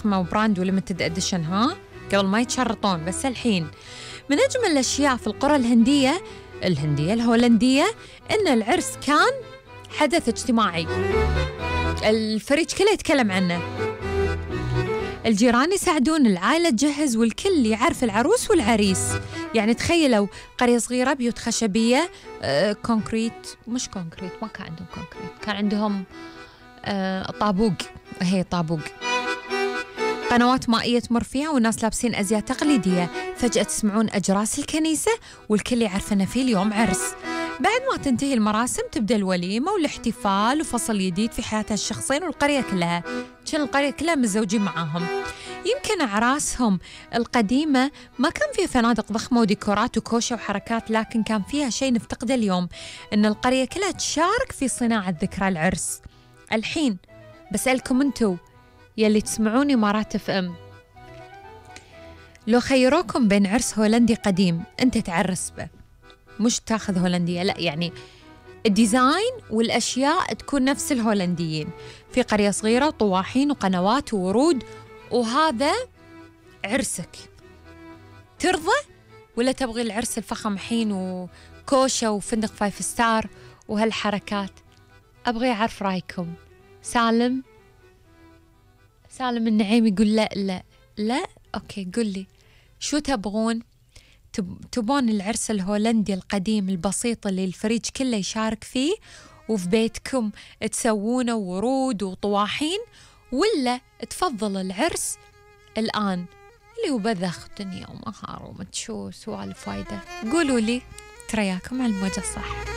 فخمة وبراند وليمتد اديشن، ها قبل ما يتشرطون. بس الحين من أجمل الأشياء في القرى الهولندية إن العرس كان حدث اجتماعي، الفريج كله يتكلم عنه، الجيران يساعدون، العائلة تجهز، والكل يعرف العروس والعريس. يعني تخيلوا قرية صغيرة، بيوت خشبية، كونكريت، مش كونكريت، ما كان عندهم كونكريت، كان عندهم طابوق، هي طابوق، قنوات مائية تمر فيها، والناس لابسين أزياء تقليدية. فجأة تسمعون أجراس الكنيسة والكل يعرف أن في اليوم عرس. بعد ما تنتهي المراسم تبدأ الوليمة والاحتفال وفصل جديد في حياة الشخصين والقرية كلها. كان القرية كلها متزوجين معاهم. يمكن أعراسهم القديمة ما كان فيها فنادق ضخمة وديكورات وكوشة وحركات، لكن كان فيها شيء نفتقده اليوم، إن القرية كلها تشارك في صناعة ذكرى العرس. الحين بسألكم أنتوا يلي تسمعوني مرات FM، لو خيروكم بين عرس هولندي قديم أنت تعرس به، مش تاخذ هولندية، لا، يعني الديزاين والأشياء تكون نفس الهولنديين، في قرية صغيرة وطواحين وقنوات وورود، وهذا عرسك، ترضى ولا تبغي العرس الفخم حين وكوشة وفندق 5 ستار وهالحركات؟ أبغي أعرف رأيكم. سالم النعيم يقول لا أوكي، قل لي شو تبغون؟ تبون العرس الهولندي القديم البسيط اللي الفريج كله يشارك فيه وفي بيتكم تسوونه ورود وطواحين، ولا تفضل العرس الآن اللي هو بذخ دنيا ومهار ومتشو سوالف وايدة؟ قولوا لي، ترياكم على الموجة صح.